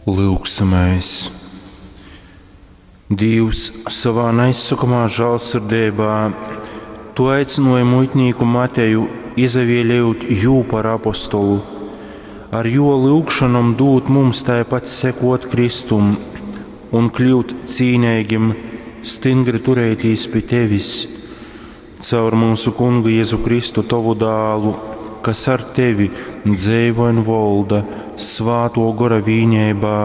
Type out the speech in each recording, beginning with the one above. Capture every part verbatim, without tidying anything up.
Lyugsimēs. Dīvs, sovā naizsokamā žālsirdeibā Tu aicināji muitnīku Mateju, izavēlējot jū par apostolu. Ar jo lyugšanom dūt mums taipat sekot Kristum un kļūt cīneigim, stingri turētīs pi Tevis. Caur mūsu Kungu Jēzu Kristu, Tovu dālu, kas ar Tevi dzeivoj un volda Svāto Gora vīneibā,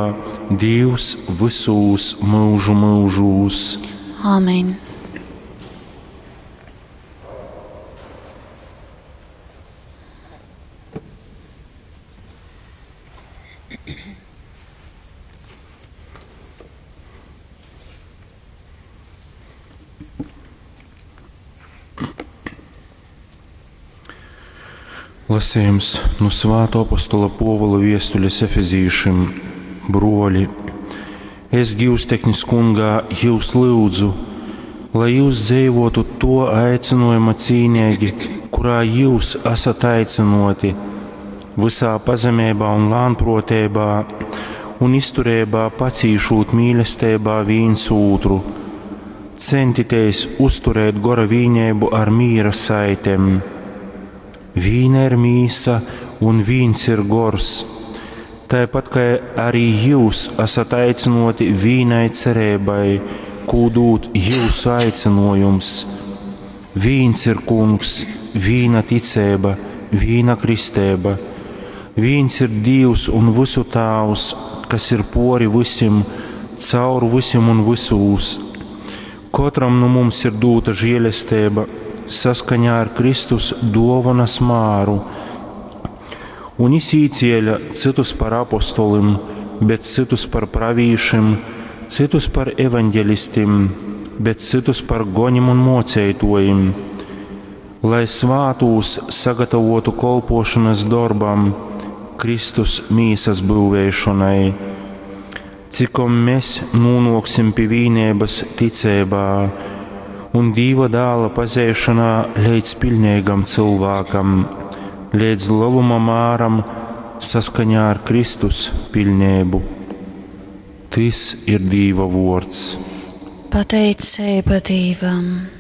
Dīvs vysūs mūžu mūžūs. Āmen. Lasījums no Svāto apostola Pōvula viestules Efezīšim. Broļi, es gīvsteknis kungā jūs lyudzu, lai jūs dzīvotu to aicinājuma cīnīgi, kurā jūs esat aicināti, visā pazemībā un lānprotībā un izturībā pacīšūt mīlestībā viens otru. Centieties uzturēt gora vīnību ar mīra saitēm. Vīna ir mīsa un vīns ir gors. Tāpat kā arī jūs esat aicināti vīnai cerībai, ko dod jūsu aicinājums. Vīns ir kungs, vīna ticība, vīna kristēba. Vīns ir Dievs un visu Tēvs, kas ir pori visiem, caur visiem un visūs. Katram no mums ir dota žēlastība saskaņā ar Kristus dovanas māru. Un viņš īcēla citus par apostolim, bet citus par pravīšim, citus par evaņģelistim, bet citus par gonim un mocētojim, lai svātūs sagatavotu kolpošanas darbam, Kristus mīsas būvēšanai, cikom mēs nonāksim pie vīnības ticībā un Dieva dēla pazēšanā līdz pilnīgam cilvēkam, līdz lieluma māram saskaņā ar Kristus pilnību. Tis ir Dieva vārds. Pateicība Dievam!